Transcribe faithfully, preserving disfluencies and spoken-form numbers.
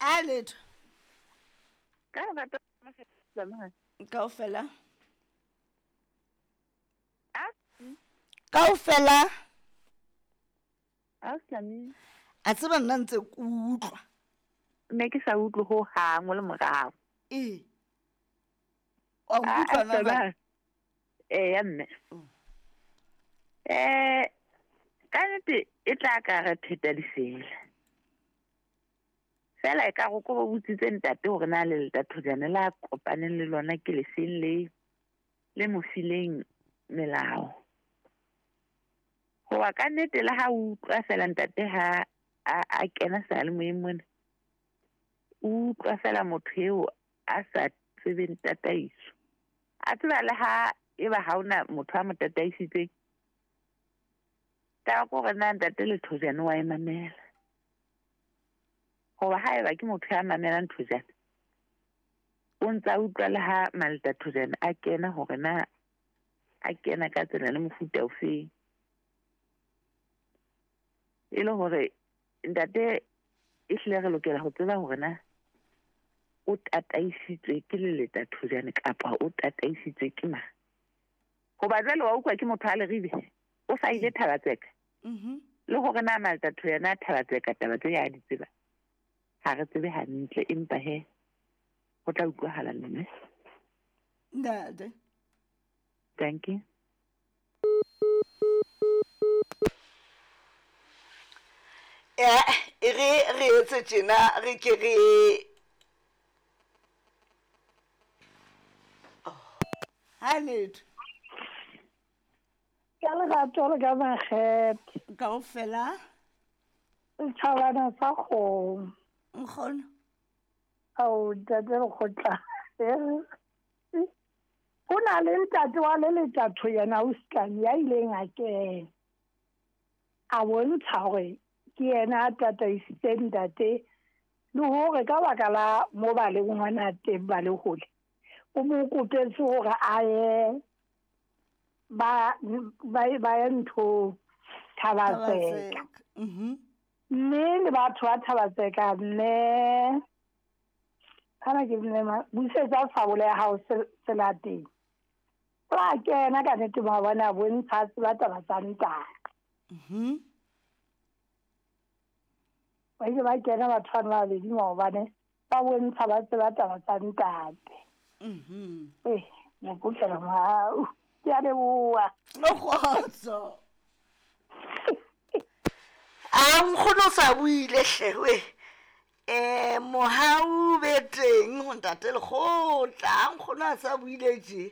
A letho. Ka lerato kaofela. A? Kaofela. A Slami. A tseba nna ntse ke utlwa. Ne ke sa utlwe ho hang o le morao. Ee. Wa nkutlwa na jwale? Eya mme. Eh ka nnete e tla ka re pheta difela. Fela e ka go ko botsitse ntate hore na le letathojane la kopaneng le lona ke lefeng le le mo fileng melao. Hoba ka nnete le ha o utlwa fela ntate ha a a kena seyalemoyeng mona, o utlwa fela motho eo a sa tsebeng tataiso. A tseba le ha eba ha hona motho a mo tataisitseng. Taba ke hore na ntate Lethojane wa e mamela. Hoba haeba ke motho ya mamelang Thojane, o ntsa utlwa le ha Maletathojane a kena hore na a kena ka tsela le mofuta ofeng. E le hore ntate e hlile re lokela ho tseba hore na o tataisitswe ke Leletathojane kapa o tataisitswe ke mang. Hoba jwale wa utlwa ke motho a Leribe, o sa ile Thabatseka. Mhm. Le hore na Maletathojane a Thabatseka taba tse ya di tseba. Ha re tsebe hantle empa he ho tla utlwahala mme. Ntate. Thank you. Eh, e re re etse tjena re ke re ha letho. Ka lerato le ka makgethe. Kaofela. Setjhabana sa kgomo. Nkgono. Ao, ntate Lekgotla. Ho na le ntate wa le letatho yena o Stlami ya ileng a kena. A bontsha hore ke yena a tataisitseng ntate le hore ka baka la mo ba leng hona teng ba le hole. O mo kopetse hore a ye ba ba ba ye ntho Thabatseka. Mhm. Mme le batho ba Thabatseka mme kana ke mme ma busetsa sabole ya hao selateng. Wa kena ka nnete ba bona bontsha tseba taba tsa ntate. Mhm. Ba ile ba kena batho bana ba babedi maobane ba bontsha ba tseba taba tsa ntate. Mhm. Eh, mokutla mohau. Ke a leboha. Kgotso. A nkgono sa buile hle we. Eh, mohau be teng ho ntate Lekgotla, nkgono a sa buile tje.